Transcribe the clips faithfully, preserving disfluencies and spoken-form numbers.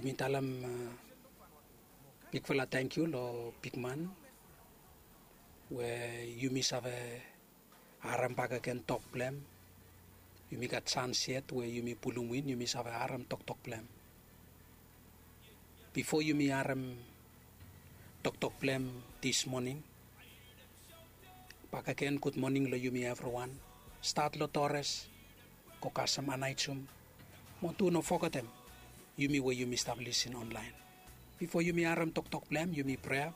Mi talem bigfala tangkiu long bigman we yumi save harem bakegen tok blong em. Yumi gat sans yet we yumi pulum win yumi save harem toktok blong em. Bifo yumi harem toktok blong em dis moning, bakegen gud moning long yumi evriwan. Stat long tores, go kasem anaijum, mo tu no fogetem yumi we yumi stap lisin onlaen. Bifo yumi harem toktok blong em yumi prea.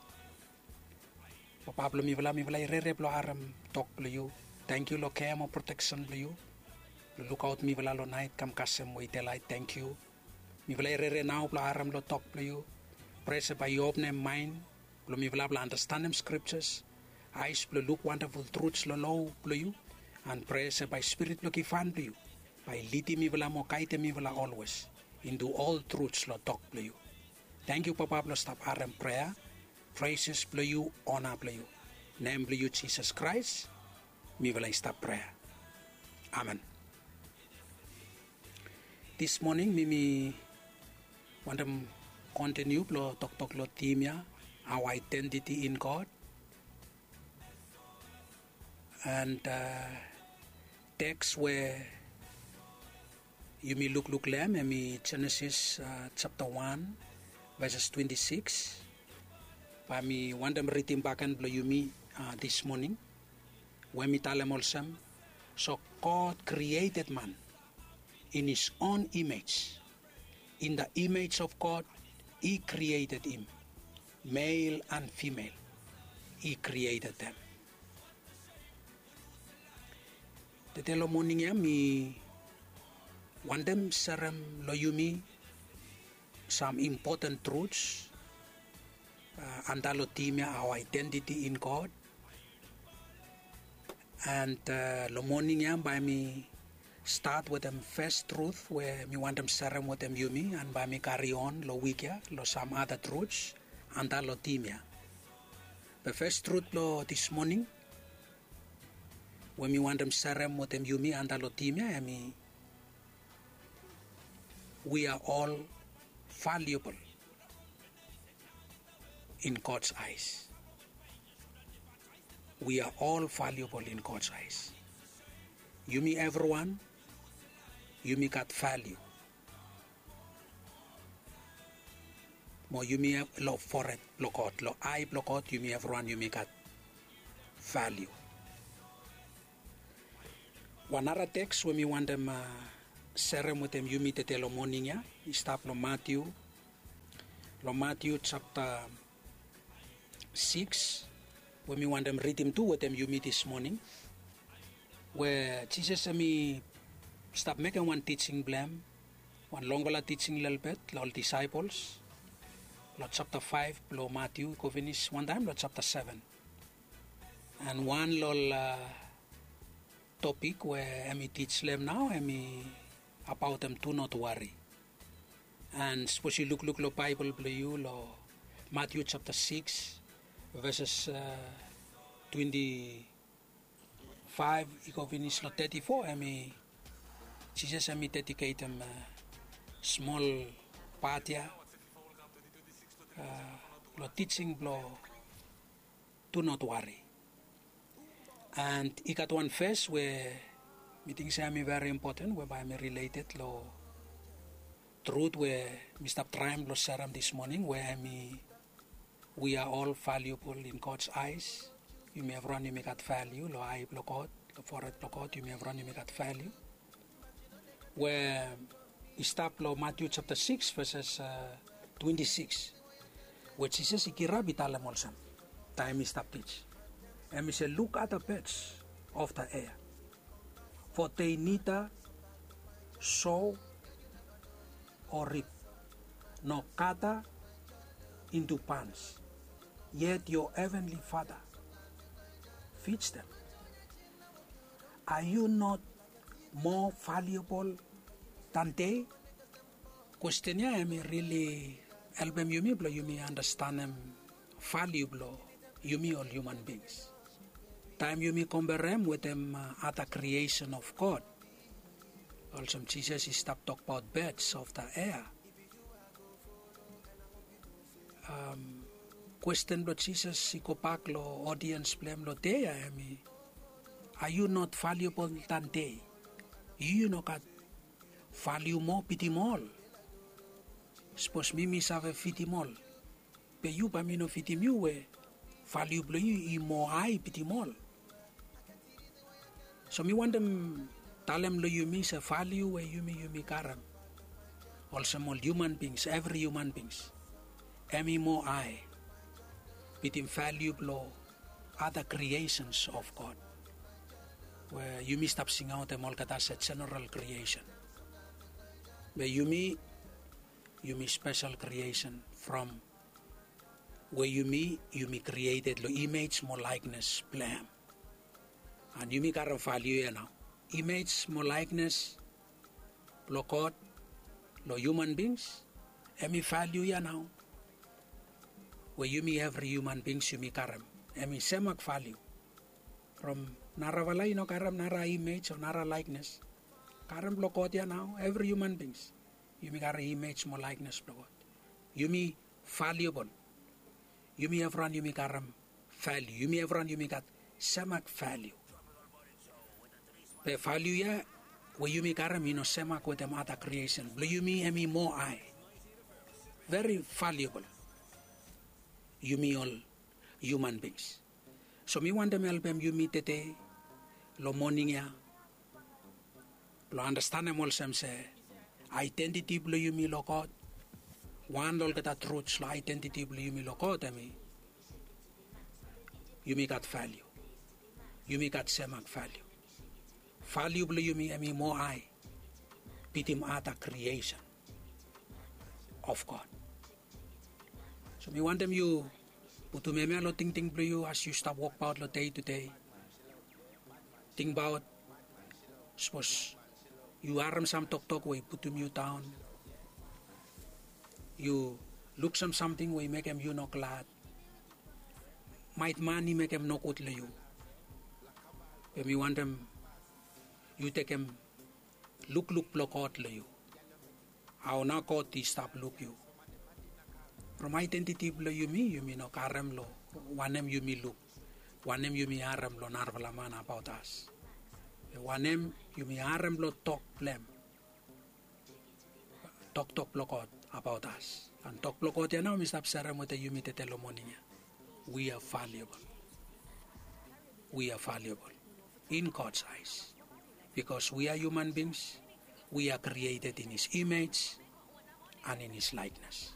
Papa blong mifala, mifala i rere blong harem tok blong yu. Tangkiu long kea mo proteksen blong yu. Blong lukaot mifala long naet kam kasem we i delaet. Tangkiu. Mifala i rere nao blong harem long tok blong yu. Prea se bae yu openem maen blong mifala blong anastenem skriptas, aes blong luk wandaful truts long lo blong yu. An prea se bae spirit blong givhan blong yu bae i lidim mifala mo gaedem mifala olwes intu ol truts long tok blong yu. Tangkiu Papa blong stap harem prea. Preses blong yu, ona blong yu. Nem blong yu Jisas Kraes mifala i stap prea. Amen. Dis moning mi mi wantem kontiniu blong toktok long tim ya, our identity in God. And teks we yumi lukluk long em hemi Jenesis japta wan, veses twenti sikis. Bae mi wantem ridim bakegen blong yumi dis moning, we mi talem olsem, so God created man in his own image. In the image of God he created him, male and female he created them. Tede long moning ya mi wantem serem long yumi sam impoten truts antap long tim ya, our identity in God. And long moning ya bae mi stat wetem fes trut we mi wantem serem wetem yumi, and bae mi kari on long wik ya long sam ada truts antap long tim ya. Be fes trut blong dis moning we mi wantem serem wetem yumi antap long tim ya hemi, we are all valuable in God's eyes. We are all valuable in God's eyes. Yumi evriwan yumi gat valiu. Mo yumi long fored blong God, long ae blong God yumi evriwan yumi gat valiu. Wan nara teks we mi wantem serem wetem yumi tede long moning ya i stap long Matiu, long Matiu japta sikis, we mi wantem ridim tu wetem yumi dis moning, we Jisas hemi stap mekem wan tijing blong em, wan longfala tijing lelebet long ol disaepols, long japta faef blong Matiu i go finis wantaem long japta seven. And wan long ol topik we hemi tij long em nao hemi abaot em do not worry. And sapos yu lukluk long Baebol blong yu long Matiu japta sikis, veses twenti faef i go finis long teti fo, hemi Jisas hemi dediketem smol pat ya long tijing blong do not worry. And i gat wan ves we mi ting se hemi veri impoten we bae hemi rileted long trut we mi stap traem blong serem dis moning, we hemi, we are all valuable in God's eyes. Yumi evriwan yumi gat valiu long ae blong God, long fored blong God, yumi evriwan yumi gat valiu. We i stap long Matiu japta sikis veses twenti sikis, we Jisas i kirap i talem olsem taem i stap tij, hemi se, look at the birds of the air, for they neither sow or reap nor gather into barns, yet your heavenly Father feeds them. Are you not more valuable than they? Kwesten ya hemi rili helpem yumi blong yumi anastenem valiu blong yumi ol hiuman bings. Taem yumi komperem wetem ada kriesen of God, olsem Jisas i stap tokbaot birds of the air, Kwesten blong Jisas i gobak long odiens blong em long dei ya, em i, are you not valuable than they? Yu no gat valiu moa bitim ol? Sapos mi mi save fidim ol, be yu bae mi no fidim yu we valiu blong yu i moa hae bitim ol. So mi wantem talem long yumi se valiu we yumi yumi karem olsem ol human bings, evri human bings, em i moa hae bitim valiu blong other creations of God, we yumi stap singaotem olgeta se general creation. Be yumi, yumi spesel creation from we yumi yumi krieted long imej mo laeknes blong em. An yumi karem valiu ya nao. Imej mo laeknes blong God long human bings, em i valiu ya nao, we yumi evri human bings yumi karem, em i semak valiu. From narafala i no karem nara imej o nara laeknes. Karem blong God ya nao, evri human bings yumi karem imej mo laeknes blong God. Yumi valiubol. Yumi evriwan yumi karem valiu. Yumi evriwan yumi gat semak valiu. Be valiu ya we yumi karem i no semak wetem other creation blong yumi, em i moa hae. Veri valiubol. Yumi ol human bings. So mi wantem helpem yumi tede long moning ya blong andastanem olsem se aedentiti blong yumi long God, wan long olgeta truts long aedentiti blong yumi long God, em i yumi gat valiu. Yumi gat semak valiu. Valiu blong yumi em i moa hae bitim other creation of God. So mi wantem yu putum hemia long tingting blong yu as yu stap wokbaot long dei tudei. Tingbaot, sapos yu harem sam toktok we i putum yu daon, yu luksem samting we i mekem yu no glad, maet man i mekem nogud long yu, be mi wantem yu tekem lukluk blong God long yu. Hao nao God i stap luk yu? From aedentiti blong yumi, yumi no karem long wanem yumi luk, wanem yumi harem long narafala man abaot as, be wanem yumi harem long tok blong em, toktok blong God abaot as. An tok blong God ya nao mi stap serem wetem yumi tede long moning ya. We are valuable. We are valuable in God's eyes, because we are human beings. We are created in His image and in His likeness.